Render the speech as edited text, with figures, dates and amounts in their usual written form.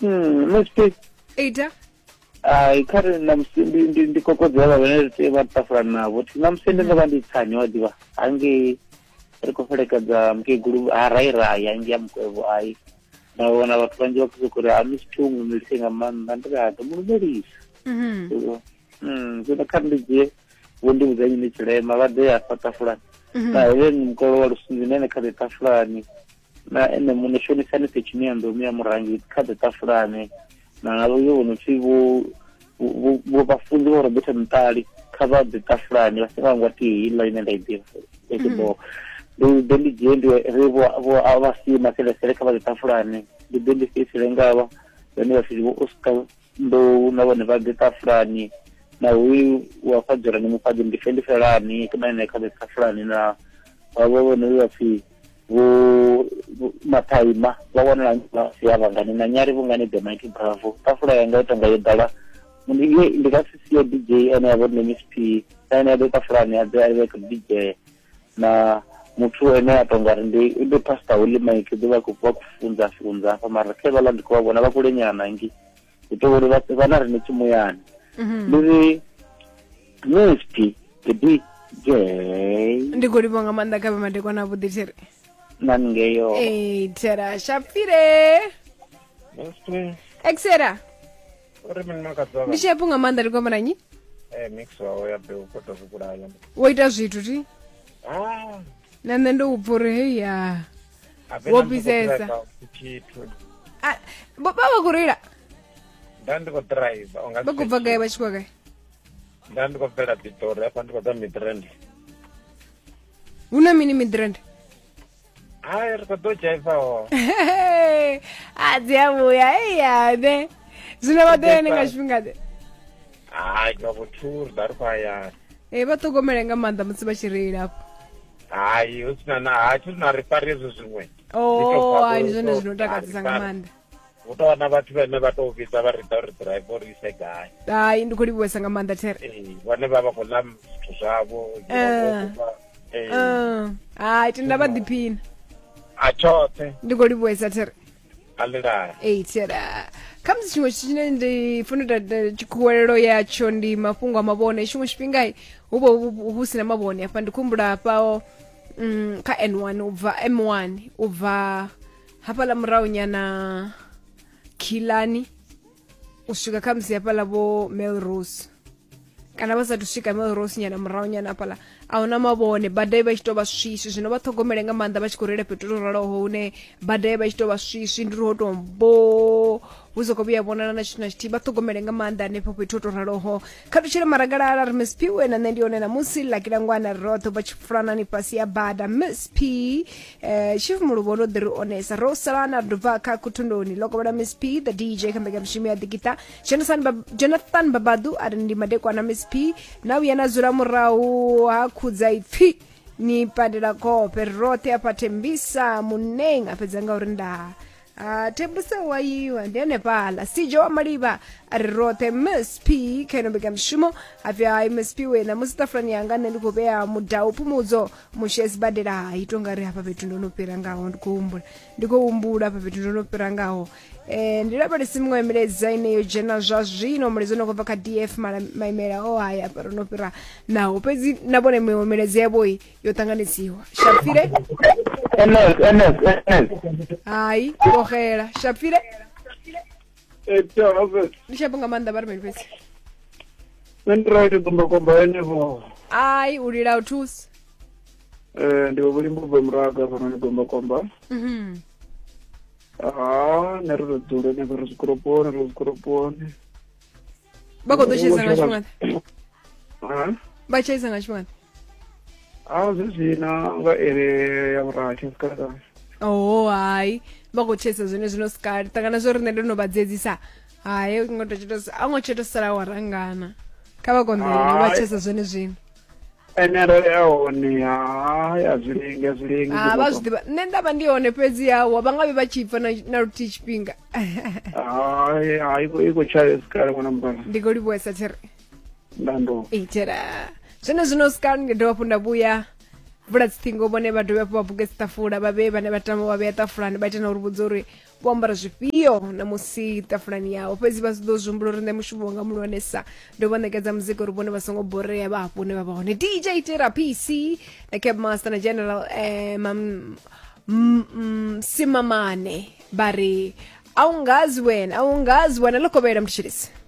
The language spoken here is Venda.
Msp Ita. Ai, kha ri ṋamusi ndi ndi ndi kokodzi havha vhane ri tea vha ṱafulani navho. Thi ṋamusi ndi ndo vha ndi tsani wa ḓivha hangei ri khou fhelekedza mukegulu ha rai rai hangei ha mukwevho ai. Nda wana vhathu vhanzhi vha khou sokou ri ha Miss P u lumelise nga maanḓa ndi ri ha ḓo mu lumelisa. Zwino kha ri ndi dzhie vho ndi vhudza nnyi tshilema vha ḓe hafha ṱafulani. Na Helen mukolo wa Lusunzi na ene kha ḓe ṱafulani. Na ene muṋe shonisani Fetshini ya Ndomi ya Murangi kha ḓe ṱafulani. Na vho vho no pfi vho vho vhafunzi vho Robert Mutali kha vha ḓe ṱafulani vha songo hangwa thihi heiḽa ine nda i ḓivha ya tshiboho. Ndi ḓe ndi dzhie ndi ri vho vho vha sie maselesele kha vha ḓe ṱafulani ndi ḓe ndi fhedzisele ngavha vhane vha pfi vho Oscar Ndou na vhone vha ḓe ṱafulani na hoyu wa fhadzulani mufhaḓi ndi fe ndi felani na ene kha ḓe ṱafulani na vhavho vhone vha pfi vho Mathaima vha wanala si ya vhangani na Nyari vhungani the Mighty Bravo ṱafula yanga i tonga yo ḓala ndi ndi nga si sie DJ ene ya vho nṋe Miss P na ene a ḓe ṱafulani a ḓe a vhe khou DJ na muthu ene a tonga ri ndi ndi Pastor Holy Mike ḓo vha khou vha khou funza funza hafha mara khe vhaḽa ndi khou vha vhona vha kule nyana ngi hu tou uri vha na riṋe tshimuyani ndi ri Miss P the DJ Ndi khou livhuwa nga maanḓa kha vhe madekwana avhuḓi thiri. Na ngeyo. Ee, thera shapfire. Miss P. Exera. Uri mini makadzi Ndi shepu nga maanḓa ri khou amba na nnyi? Eh mix wawe ya beu ko to vhulaya. Wo ita zwithu ti? Ah. Na nṋe ndo u pfa uri hei ya. Wo fhisesa. Tshithu. Ah, vha vha khou reila? Nda ndi khou driver unga. Vha khou bva gai vha tshi khou gai? Nda ndi khou bvela Pitori hafha ndi khou ḓa Midrand. Hu na mini Midrand? Hai ri khou ḓo dzhaiva ho. A dzi a vhuya eya ne. Zwino vha ḓo ya nga tshifhinga ḓe? Hai nga vho 2 ri ḓa ri khou hayani. Ee vha ṱhogomele nga maanḓa musi vha tshi reila afho. Hai hu sina na ha tshi na ri fari hezwo zwiṅwe. Oh, hai ndi zwone zwino takadzesa nga maanḓa. Hu tou vha na vhathu vhane vha tou vhidza vha ri ḓa uri drive uri ise gai. Hai ndi khou livhuwesa nga maanḓa there. Ee vhone vha vha khou ḽa zwithu zwavho. Ee. Hai tenda vha ḓiphina. A tshoṱhe. Ndi khou livhuwesa there. A ḽilala. Ee there. Khamusi tshiṅwe tshithu tshine ndi funa u ita tshikhuwelelo yatsho ndi mafhungo a mavhone tshiṅwe tshifhinga hu vha hu si na mavhone hafha ndi khou humbula hafha kha N1 u bva M1 u bva hafhaḽa murahu nyana khilani u swika kha musi hafhaḽa vho melrose kana vha sathu swika melrose nyana murahu nyana hafhaḽa a huna mavhone bada i vha i tshi tou vha swiswi zwino vha ṱhogomele nga maanḓa vha tshi khou reila fhethu to raloho hune bada i vha i tshi tou vha swiswi ndi uri ho tou mbo hu soko vhuya vhonala na tshithu na tshithihi vha ṱhogomele nga maanḓa hanefho fhethu ho tou raloho kha ṱutshele maragalala ri miss p we na nṋe ndi hone namusi lakilangwana ri roṱhe vha tshi fulanani fhasi ya bada miss p eh, chief muluvho ndo ḓi ri onesa ro salana ri bva kha khuthundoni ḽo kovhela miss p the dj kha mbekanyamushumo ya ḓikiṱa jonathan, ba jonathan babadu a ri ndi madekwana miss p na vhuya na dzula murahu ha khudza ipfi ni pandela khofhe ri roṱhe afha thembisa muneng a fhedza nga uri ndaa Ah, thembisa wa yiwa ndi hanefhaḽa sijo wa malivha a ri roṱhe miss p kha ino mbekanyamushumo hapfi hai miss p wena musi ṱafulani yanga nṋe ndi khou vhea mudau phumudzo mushe sibadela hai to nga ri hafha fhethu ndo no fhira ngaho ndi khou humbula ndi khou humbula hafha fhethu ndo no fhira ngaho eh ndi lavhelesi miṅwe milaedza ine yo dzhena zwa zwino mulaedza no khou bva kha df maimela o haya hafha ro no fhira naho fhedzi na vhone miṅwe milaedza yavhoi yo ṱanganedziwa shapfile ns ns ns hai vhogela shapfile ndi shapo nga maanḓa vha ri mini fhedzi nṋe ndi right gombakomba henefho ai u lila u thusi Eh, ndi vhulimbo bva muraga hafhanoni gombakomba Mhm. ha nṋe ri to dzula henefho ri zwikoroponi ri zwikoroponi vha khou ḓo tshaisa nga tshifhinga Ha? vha tshaisa nga tshifhinga A zwi zwina nga iri ya vhurathi sikala. oho hai vha khou tshaisa zwone zwino sikali ṱangana zwo riṋe ndo no vha dzedzisa hai ngo to tshito a ngo tsheto sala wa rangana kha vha konḓelele vha Hai. tshaisa zwone zwino Ene arali a hone hai a zwi lengi a zwi lengi. Ah, vha zwi ḓivha nṋe nda vha ndi hone fhedzi hawa vha nga vhe vha tshi pfa na na luthihi tshifhinga Hai hai i khou tshaya sikala ṅwana mukala. ndi khou livhuwesa there Ndando. itela zwone zwino sikali ndi dovha hafhu nda vhuya vula dziṱhingo vhone vha dovhe hafhu vha buge dziṱafula vha vhee vhane vha tama vha vhea ṱafulani vha ite na uri vhudza uri Vho ambara zwifhio ṋamusi ṱafulani yavho, fhedzi vha ḓo zwi humbula uri nṋe mushumo wanga muhulwanesa ndi u vha ṋekedza muzika uri vhone vha songo borea vha hafho hune vha vha hone. DJ Tira PC na Cap Master na General Simamane vha ri awungazi wena, awungazi wena. Ḽo kovhela mthetshelesi.